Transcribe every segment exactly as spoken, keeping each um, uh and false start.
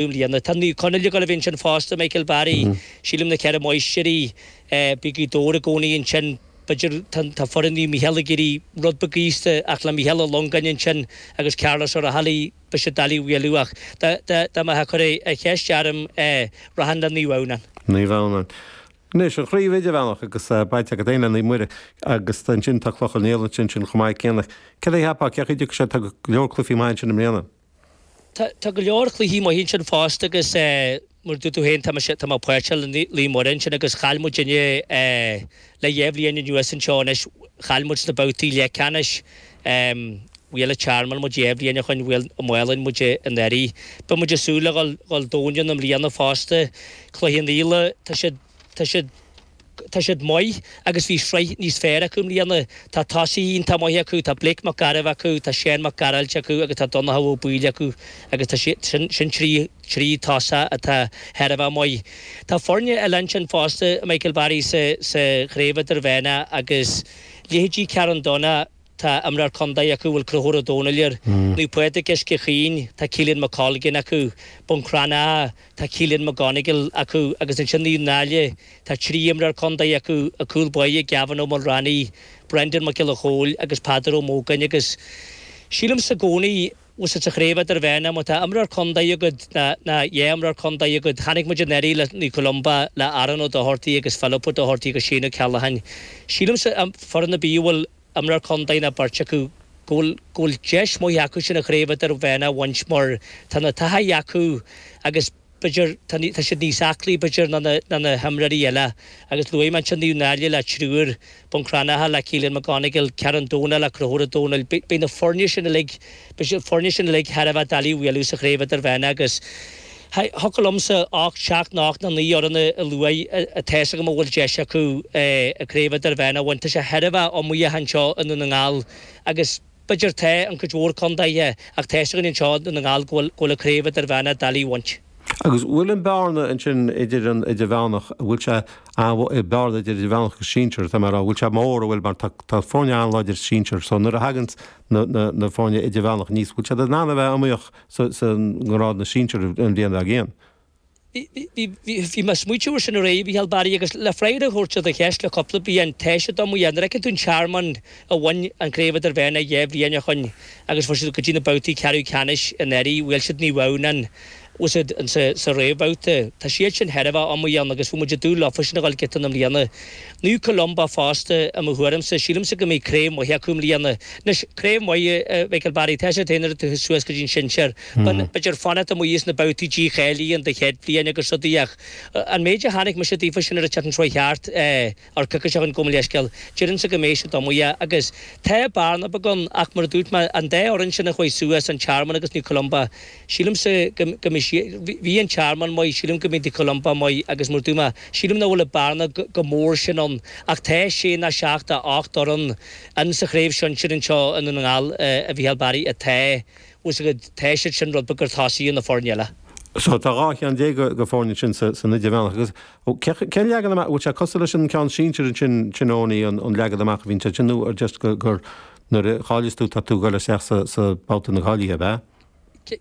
mbliana. Tá Naomh Conaill ag dul a bheith ansin fosta, Michael Barry, sílim na Ceithre Máistrí, beidh Gaoth Dobhair i gcónaí ansin, b'fhéidir tá foireann Naomh Micheál ag iarraidh rud beag aosta ach le Micheál Ó Longáin ansin agus Carlos Ó Raghallaigh beidh siad doiligh a bhualadh ach dá mbeifeá ag cur an cheist orm rachainn le Naomh Adhamhnáin. Naomh Adhamhnáin. Anois, an chraobh idirmheánach agus baint agat féin le Naomh Muire agus ansin tá Cloich Cheann Fhaola ansin chomh maith céanna. Céard a cheapfá, cén chaoi a dtiocfaidh sé, tá go leor cluichí maith ansin i mbliana. Tá go leor cluichí maith ansin fosta agus mar a dúirt tú féin tá mise, tá mé páirteach le Naomh Muire ansin agus chaill muidinne le dhá bhliain anuas anseo anois, chaill muid sna babhtaí leathcheannais. Bhuail an Tearmann muid dhá bhliain ó shoin, bhuail Maigh Cuilinn muid anuraidh. Beidh muid ag súil le dhul dhul domhain ann i mbliana fosta. Cloich Cheann Fhaola, tá siad, tá siad, tá siad maith agus bhí sraith níos fearr acu i mbliana. Tá tosaithe iontach maithe acu, tá Blake Mac Gairbh acu, tá Seán Mac Gearailt acu agus tá Donncha Ó Baoill acu agus tá siad, sin, sin trí, trí tosach atá thar a bheith maith. Tá foirne eile ansin fosta, Michael Barry, sa, sa Chraobh Idirmheánach agus leithéidí Carn Donncha, Tá imreoir contae acu a bhfuil Conchúr Ó Domhnaill air. Naomh Pádraig Uisce Chaoin, tá Keelan McColgan acu. Bun Cranncha, tá Keelan McGonigle acu agus ansin Naomh Náille, tá trí imreoir contae acu, i gcúl báire Gavin Ó Maolramhnaigh, Brendan Mac Giolla Chóill agus Peadar Ó Mógáin agus sílimse i gcónaí bhfuil sa chraobh idirmheánach má tá imreoir contae agat nó dhá imreoir contae agat, chonaic muid anuraidh le Naomh Columba, le Aaron Ó Dochartaigh agus Philip Ó Dochartaigh agus Shane Ó Ceallacháin. Sílimse foireann ar bith a bhfuil imreoir contae nó beirt acu, go bhfuil, go bhfuil deis mhaith acu sin an chraobh idirmheánach a bhaint mar tá na taithí acu agus b'fhéidir, tá, tá siad níos aclaí b'fhéidir ná na, ná na himreoirí eile agus luaigh mé ansin Naomh Náille le triúr, Bun Cranncha le Keelan McGonigle, Carn Domhnach le Conchúr Ó Domhnaill, beidh, beidh na foirne sin uilig, beidh siad, foirne sin uilig thar a bheith doiligh a bhualadh sa chraobh idirmheánach agus Thiocfadh liomsa ocht, seacht nó ocht nó naoi fhoireann a lua atá fhios agam a bhfuil deis acu an Craobh Idirmheánach a bhaint. Tá sé thar a bheith iomaíoch anseo i nDún na nGall agus b'fhéidir tá an cuid mhór contaetha ach tá fhios againn anseo i nDún na nGall go bhfuil go bhfuil an Craobh Idirmheánach doiligh a bhaint. Agus bhfuil an bearna ansin idir an idirmheánach, bhfuil sé bearna idir idirmheánach agus sinsir, tá mé a rá, bhfuil sé mór, an bhfuil, mar tá tá foirne an-láidir sinsir so nuair a thagann na na na foirne idirmheánach aníos, bhfuil siad in ann a bheith iomaíoch sa sa ngrád na sinsir an bhliain dár gcionn? Bhí bhí bhí bhí mé ag smaoitiú ar sin aréir, a Mhícheáil Barry, agus le freagra a thabhairt ar do cheist le cúpla bliain, tá siad iomaíoch. Nuair a fheiceann tú an Tearmann a bhain an Craobh Idirmheánach dhá bhliain ó shoin agus fuair siad go dtí na babhtaí ceathrú ceannais anuraidh, bhuail siad Naomh Adhamhnáin, Úsáid an sa réamhbhabhta. Tá siad sin thar a bheith iomaíoch agus bhí muid ag dúil leofa sin a dhul giota i mbliana. Naomh Columba fosta, i mo thuairimse, sílimse go mbeidh craobh maith acu i mbliana. Anois, craobh maith, a Mhichael Barry, tá sé féin nuair atá tú suas go dtí an sinsear. B'fhéidir fanacht amuigh sna babhtaí dícháilithe in do chéad bhliain agus rudaí ach an méid a chonaic mise daofa sin ar an tseachtain seo chuaigh thart, ar coicís ó shin gabh mo leithscéal, déarfainnse go mbeidh siad iomaíoch agus tá bearna beag ann ach mar a dúirt mé, an dá fhoireann sin a chuaigh suas, an Tearmann agus Naomh Columba, sílimse go mbeidh siad, bhí an Tearmann maith, sílim go mbeidh Naomh Columba maith agus mar a dúirt mé, sílim nach bhfuil an bearna chomh mór sin ann ach tá sé nó seacht nó ocht fhoireann ann sa chraobh shinsir anseo i nDún na nGall, a Mhicheáil Barry, atá, bhfuil a fhios agat, tá siad sin rud beag chun tosaigh ar na foirne eile. So tá dhá cheann déag de foirne ansin san idirmheánach agus cén leagan amach, bhfuil sé cosúil leis an ceann sinsir ansin, sin Owenie, an leagan amach a bhíonn sé ansin nó ar just gur nuair a cháileas tú tá tú ag dul isteach sa sa babhta na cáilithe, ab ea?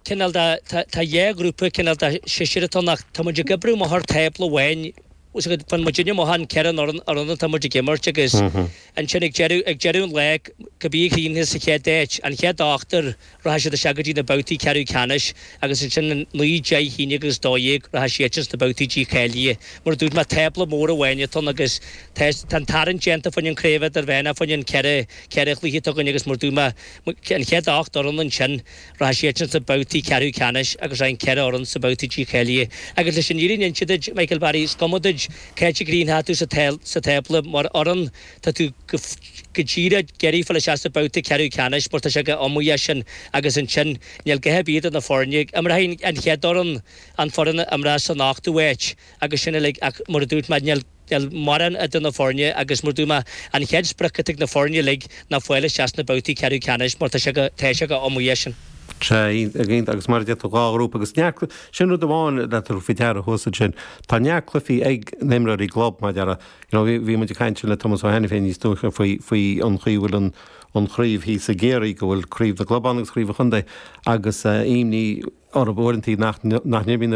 Cineál de, tá dhá ghrúpa cineál de seisear atá ann ach tá muid ag oibriú amach ar tábla amháin, bhfuil a fhios agat, faigheann muidinne amach an ceithre fhoireann atá muid ag imirt agus ansin ag deireadh, ag deireadh an lae, cibé a chríochnaíos sa chéad áit, an chéad ochtar, Rachaidh siad isteach go dtí na babhtaí ceathrú ceannais agus ansin an naoi, deich, haon déag agus dó dhéag, rachaidh siadsan sna babhtaí dícháilithe. Mar a dúirt mé, tábla mór amháin atá ann agus tá tá an tarraingt déanta fá choinne an craobh idirmheánach, fá choinne an ceithre ceithre chluiche atá againn agus mar a dúirt mé, an chéad ocht fhoireann ansin, rachaidh siadsan sna babhtaí ceathrú ceannais agus rachaidh an ceithre fhoireann sna babhtaí dícháilithe. Agus leis an fhírinne a inse duit, Michael Barry, is cuma duit cá háit a gcríochnóidh tú sa sa tábla mar fhoireann, tá tú go go díreach ag iarraidh fáil isteach sa babhta ceathrú ceannais mar tá sé chomh iomaíoch sin agus ansin níl a dhath ar bith idir na foirne. Imreoidh an chéad fhoireann an foireann a imreos san ochtú háit agus sin uilig ach mar a dúirt mé níl níl mórán idir na foirne agus mar a dúirt mé an chéad sprioc atá ag na foirne uilig ná fáil isteach sna babhtaí ceathrú ceannais mar tá sé go tá sé chomh iomaíoch sin. Sea, iontach agus mar a deir tú dhá ghrúpa agus neart, sin rud amháin le tabhairt faoi deara thuas ansin, tá neart cluichí ag na himreoirí club mar a déarfá. You know, bhí, bhí muid ag caint le Tomás Ó hAiniféin níos dúiche faoi, faoi an chaoi a bhfuil an, an chraobh thíos i gCiarraí, go bhfuil craobh na gclub ann agus craobh an chontae agus eh, imní orthu uaireanta nach nach n-imríonn